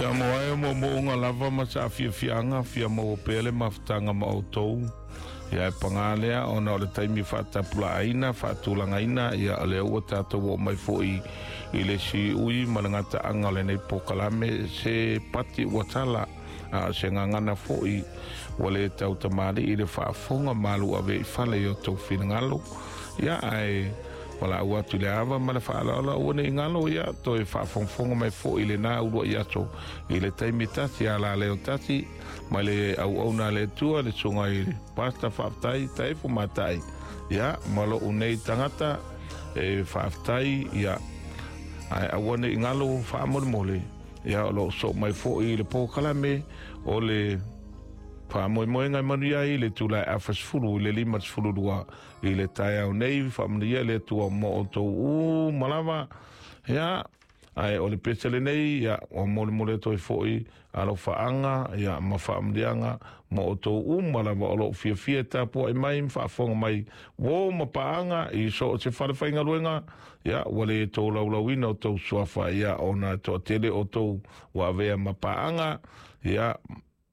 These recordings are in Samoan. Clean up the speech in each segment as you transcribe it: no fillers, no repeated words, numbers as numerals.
Samoa e o moomooga lava ma saafiafiaga fia maua pea le mafutaga ma outou. Ia e pagā lea ona o le taimi faatapulaaina faatulagaina, ia o lea ua tatou oo mai foi i le siui ma le gataaga o lenei polokalame. Se pati ua tala, a o se gagana foi ua lē tautamalii le faafofoga malu ave i fale i o tou finagalo. Ia ae valaau atu i le ava ma le faaaloalo, aua nei galo, ia toe faafogafoga mai foi i lenā uluai aso i le taimi tasi a la leo tasi mai le auauna a le Atua, le susuga i le Pastor Faafetai Taefo Matai, ia ma lou nei tagata e faafetai. Ia ae aua nei galo faamolemole, ia o loo soo mai foi i le polokalame o le faamoemoega e manuia ai le itula e 40 i le 52 i le taeao nei. Faamanuia le Atua mo outou uma lava. Ia ae o le pese lenei, ia ua molemole atu ai foi alofaaga, ia ma faamanuiaga mo outou uma lava o loo fiafia e tapuai mai ma faafofoga mai, uo ma paaga i so o se fale faigaluega. Ia ua le tolaulauina o tou suafa, ia ona toatele outou ua avea ma paaga. Ia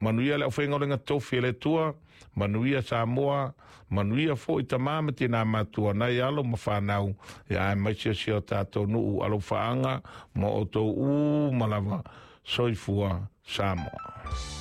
manuia le aufaigaluega tofi a le Atua, manuia Samoa, manuia foi tamā ma tinā matua, nai alo ma fanau, ia aemaise si o tatou nuu. Alofaaga mo outou uma lava. Soifua Samoa.